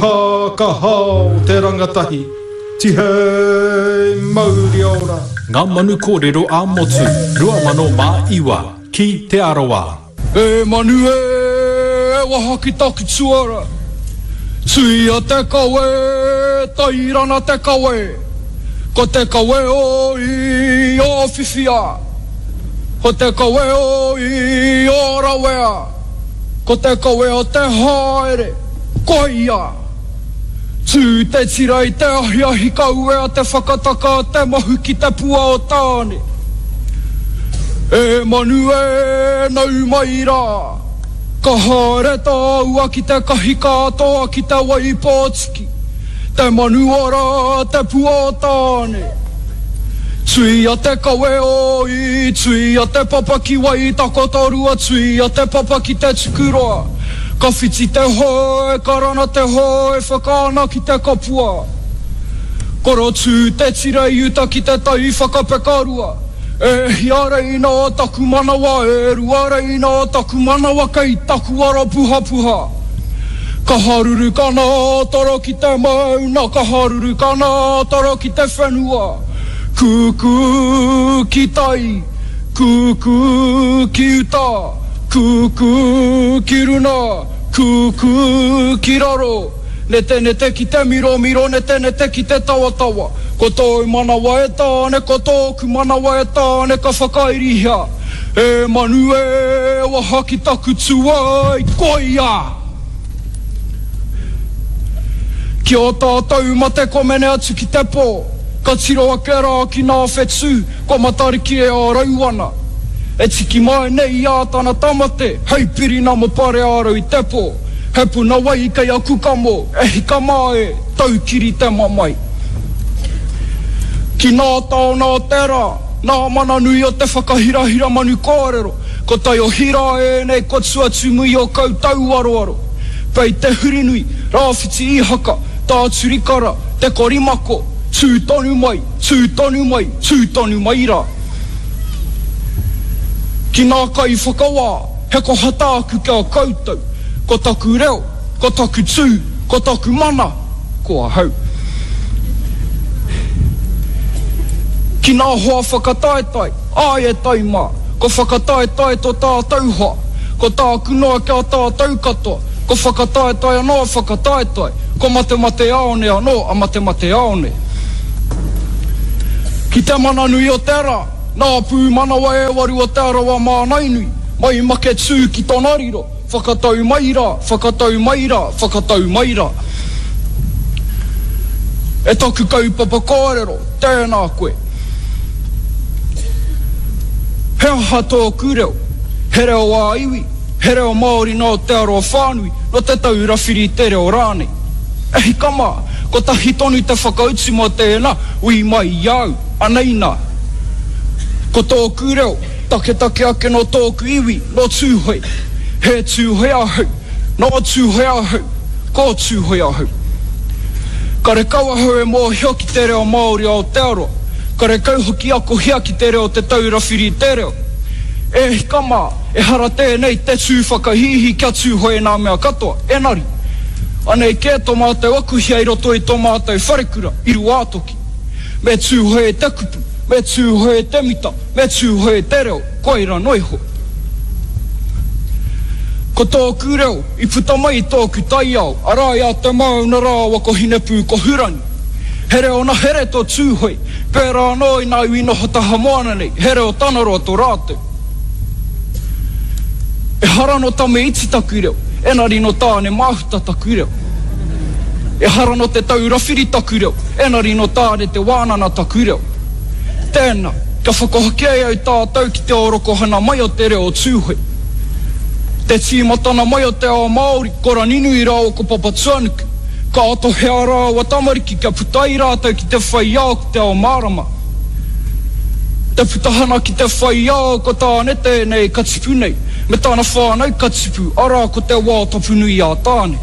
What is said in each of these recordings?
Pā ka hao te rangatahi, tihei mauri ora! Ngā Manu Kōrero ā-Motu 2009 ki Te Arawa. E manu e, e waha ki taku tuara, Tuia te kawe, tairana te kawe, Ko te kawe o i o whiwhia, Ko te kawe o i o rawea. Ko te kawe o te haere, koia! Tū te tira i te ahiahi ka uea te whakataka a te mahu ki te pua o Tāne. E manu e, nau mai rā! Ka haere tāua ki te kahikātoa ki te wai pōtiki, te manu ora, te pua o Tāne. Tuia te kawe o i, tuia te papa ki Waitakotorua, tuia te papa ki Te Tukuroa. Ka whiti te hoe, ka rana te hoe, whakaana ki te kapua. Korotū te tira i uta ki te tai whakapekarua. E hia reina taku manawa, e rua reina taku manawa kei taku ara puhapuha. Ka haruru ka nātara ki te mauna, ka haruru ka nātara ki te whenua. Kūkū ki tai, kūkū ki uta, kūkū ki runa, kūkū ki raro. Netenete ki te miromiro, netenete ki te tawatawa. Ko tōu manawa e Tāne, ko tōku manawa e Tāne ka whakairihia. E manu e waha ki taku tuai, koia! Ki ō tātou mate komene atu ki te pō, ka tiro ake rā ki nā whetū, kua Matariki e ārau ana. E tiki mai nei i ā tana tamate, hei pirina mo Pareārau i te pō. He puna wai kei aku kamo, e hika mā e, taukiri te mamae. Ki nā taona o te rā, Nā mana nui o te whakahirahira manu kōrero, ko taiohi rā ēnei kua tuatumui o koutou aroaro. Pei te hurinui, Rāwhiti Ihaka, Tāturikara, Te Korimako, tū tonu mai, tū tonu mai, tū tonu mai rā. Ki nā kaiwhakawā, he koha tāku ki a koutou, ko taku reo, ko taku tū, ko taku mana, ko ahau. Ki nā hoa whakataetae, āe e tai mā, ko whakataetae tō tātou hoa, ko tāku noa ki a tātou katoa, ko whakataetae anō a whakataetae, ko matemateāone anō a matemateāone. Ki te mana nui o te rā, nā pūmanawa e waru o Te Arawa Mānainui, mai Maketū ki Tonariro, Whakatau mai rā, whakatau mai rā, whakatau mai rā. E taku kaupapa kōrero, tēnā koe. He aha tōku reo? He reo ā-iwi, he reo Māori nō Aotearoa whānui, nō Te Taura Whiri i te Reo rānei? E hika mā, kotahi tonu te whakautu mō tēnā, ui mai i a au, anei nā. Ko tōku reo, Taketake ake nō tōku iwi, nō Tūhoe. He Tūhoe ahau, nō Tūhoe ahau, ko Tūhoe ahau. Karekau ahau e mōhio ki te reo Māori o Aotearoa, karekau hoki akohia ki te reo Te Taura Whiri i te Reo. E hika mā, ehara tēnei te tū whakahīhī kia Tūhoe nā mea katoa, enari, anei kē tō mātou akuhia i roto i tō mātou wharekura, i Ruātoki. Me Tūhoe te kupu, me Tūhoe te mita, Me Tūhoe te reo, koira noa iho. Ko tōku reo i puta mai i tōku taiao, arā i a Te Mauna rāua ko Hinepūkohurangi. He reo nahere tō Tūhoe, pērā anō i ngā iwi noho taha moana nei, he reo tanaroa tō rātou. Ehara nō Tame Iti taku reo, enari nō Tāne Māhuta taku reo. Ehara nō Te Taurawhiri taku reo, enari nō Tāne Te Wānana taku reo. Tēnā, kia whakahokia e au tātou ki te orokohana mai o te reo o Tūhoe. Te tīmatana mai o te ao Māori, ko Raninui rāua ko Papatuanuku. Ka tohe ā rāua tamariki kia puta ai rātou ki te whai ao ki te ao mārama. Te putahana ki te whai ao ko Tāne tēnei ka tipu nei, me tana whānau ka tipu, arā ko te wao tapu nui a Tāne.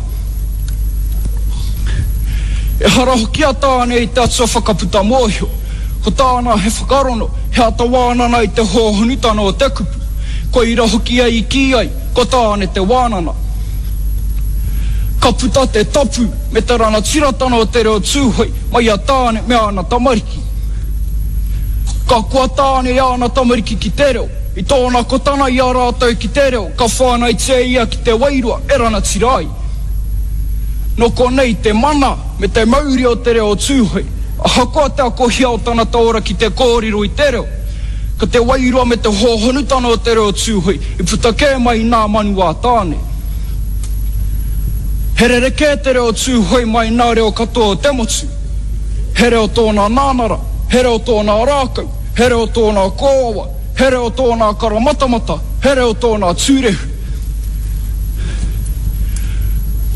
Ehara hoki a Tāne i te atua whakaputa mōhio. Ko tāna he whakarono, he ata wānana i te hōhonutana o te kupu. Koira hoki ia i kī ai, ko Tāne te wānana. Ka puta te tapu me te ranatiratana o te reo Tūhoe mai i a Tāne me āna tamariki. Ka koa Tāne i āna tamariki ki te reo, i tōna kotana i a rātou ki te reo ka whānaitia ia ki te wairua e ranatira ai. Nō konei te mana me te mauri o te reo o Tūhoe, ahakoa te akohia o tana taora ki te kōrero i te reo, ko te wairua me te hōhonutana o te reo o Tūhoe i puta kē mai i nā manu a Tāne. He rerekē te reo Tūhoe mai nā reo katoa o te motu. He reo tōna nānara, he reo tōna rākau, he reo tōna kōawa, he reo tōna karamatamata, he reo tōna tūrehu.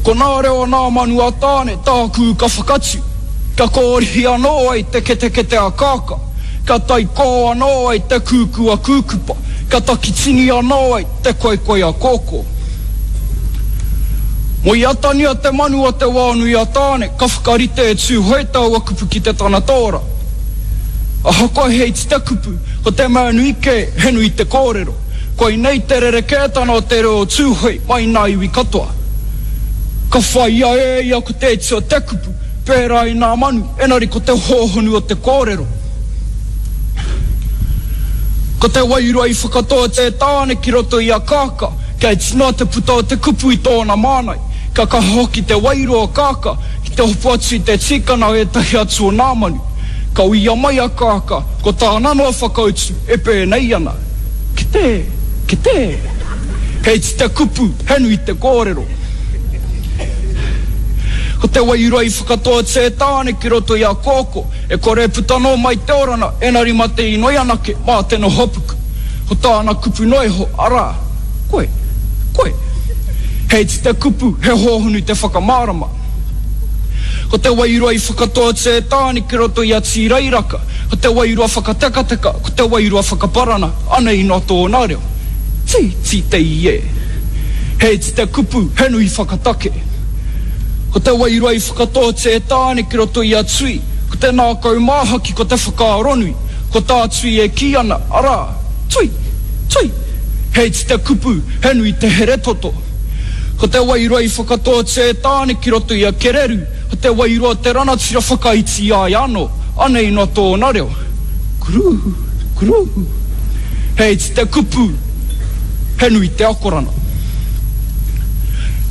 Ko nā reo nā manu a Tāne tāku ka whakatu, kia kōrihi anō ai te ketekete a Kākā, kia taikō anō ai te kūkū a Kūkupa, kia takitini anō ai te koikoi a Kōkō. Mo i atania te manu o te wao nui a Tāne, ka whakarite e Tūhoe taua kupu ki te tangata ora. Ahakoa he iti te kupu, ko te mea nui kē, he nui te kōrero. Koinei te rerekētana o te reo o Tūhoe mai nā iwi katoa. Ka whāia e ia ko te iti o te kupu, pērā i nā manu, enari ko te hōhonu o te kōrero. Ko te wairua i whakatō e Tāne ki roto i a Kākā, kia iti noa te puta o te kupu i tōna māngai, kia kaha hoki te wairua o Kākā ki te hopu atu i te tīkana o ētahi atu o nā manu. Ka uia mai a Kākā, ko tāna noa whakautu e pēnei ana, Kite, kite! He iti te kupu, he nui te kōrero. Ko te wairua i whakatōtia e Tāne ki roto i a Kōkō, E kore e puta noa mai te orana, enari ma te inoi anake, mā te nohopuku. Ko tāna kupu noa iho, arā, Koe, koe. He iti te kupu, he hōhonu te whakamārama. Ko te wairua i whakatoatia e Tāne ki roto i a Tīrairaka, ko te wairua whakatekateka, ko te wairua whakaparana, anei noa tōna reo. Tī, tī te i e. He iti te kupu, he nui whakatake. Ko te wairua i whakatōtia e Tāne ki roto i a Tui, ko te nākau māhaki ko te whakaaronui, ko tā Tui e kī ana, arā, Tui! Tui! He iti te kupu, he nui te here toto. Ko te wairua i whakatōtia e Tāne ki roto i a Kereru, ko te wairua o te ranatira whakaiti i a ia anō, anei noa tōna reo, Kurū! Kurū! He iti te kupu, he nui te akoranga.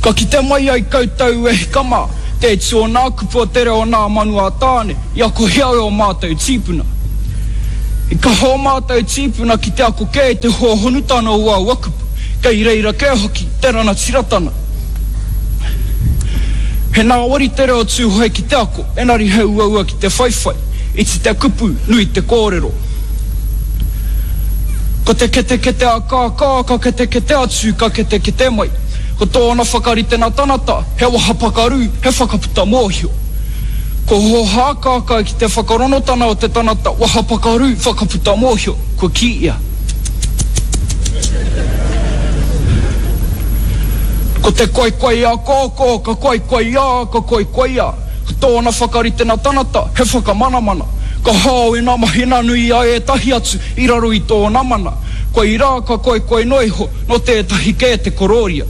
Ka kite mai ai koutou e hika mā, te iti o nā kupu o te reo nā manu a Tāne i akohia e ō mātou tīpuna. I kaha ō mātou tīpuna ki te ako kē i te hōhonutana o aua kupu, kei reira kē hoki te ranatiratana. He nāwari te reo Tūhoe ki te ako, engari he uaua ki te whaiwhai. Iti te kupu, nui te kōrero. Ko te ketekete a Kākā, ka ketekete atu, ka ketekete mai. Ko tōna whakaritenga tanata, he waha pakaru, he whakaputa mōhio. Ko hōhā Kākā ki te whakaronotana o te tanata waha pakaru, whakaputa mōhio, kua kī ia. Ko te koikoi a Kōkō, ka koikoi ā, ka koikoi ā. Ko tōna whakaritenga tanata, he whakamanamana. Ka hao i ngā mahina nui a ētahi atu i raro i tōna mana. Koirā ka koikoi noa iho nō tētahi kē te korōria.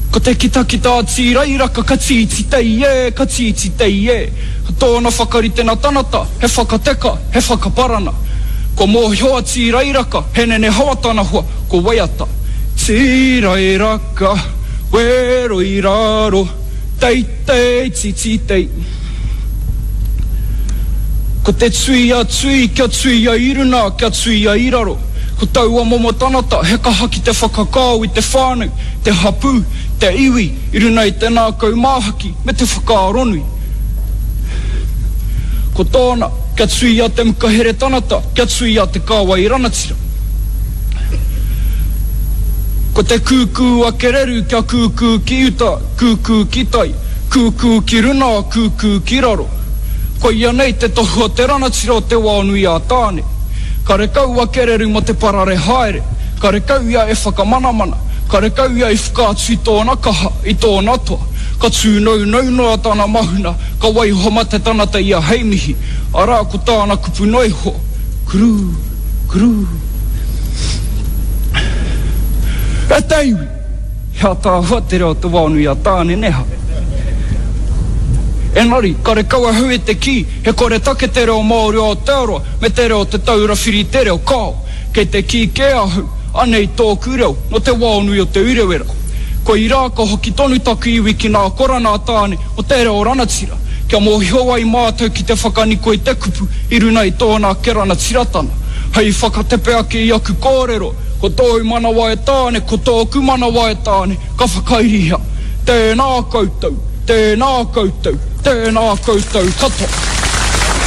Ko te kitakita a Tīrairaka ka tīti tei e, ka tīti tei e. Ko tōna whakaritenga tanata, he whakateka, he whakaparana. Kua mōhio a Tīrairaka, he nenehawa tana hoa, ko Waiata. Tīrairaka. Wero i raro, teitei tititei. Ko te tui a tui, kia tuia i runa, kia tuia i raro. Ko taua momo tangata he kaha ki te whakakao i te whānau, te hapū, te iwi i runa i te ngākau māhaki me te whakaaronui. Ko tōna, kia tuia te muka here tangata, kia tuia te kāwai ranatira. Ko te kūkū a Kereru kia kūkū ki uta, kūkū ki tai, kūkū ki runa, kūkū ki raro. Koia nei te tohu o te ranatira o Te Waonui-ā-Tāne. Karekau a Kereru mo te parare haere, karekau ia e whakamanamana, karekau ia i whakaatu i tōna kaha, i tōna toa. Ka tūnounou noa tana mahuna, ka waiho ma te tangata ia hei mihi, arā ko tāna kupu noa iho, Kurū! Kurū. E te iwi! He ataahua te reo o Te Waonui a Tāne, nē ha? Engari, karekau ahau e te kī, he koretake te reo Māori o Aotearoa me te reo o Te Taura Whiri i te Reo, kāo. Kei te kī kē ahau, anei tōku reo, nō Te Waonui o Te Urewera. Koirā ka hoki tonu taku iwi ki nā korana a Tāne o te reo ranatira, kia mōhio ai mātou ki te whakaniko i te kupu i runa i tōna ake ranatiratana. Hei whakatepe ake i aku kōrero, ko tōu manawa e Tāne, ko tōku manawa e Tāne, ka whakairihia. Tēnā koutou, tēnā koutou, tēnā koutou katoa.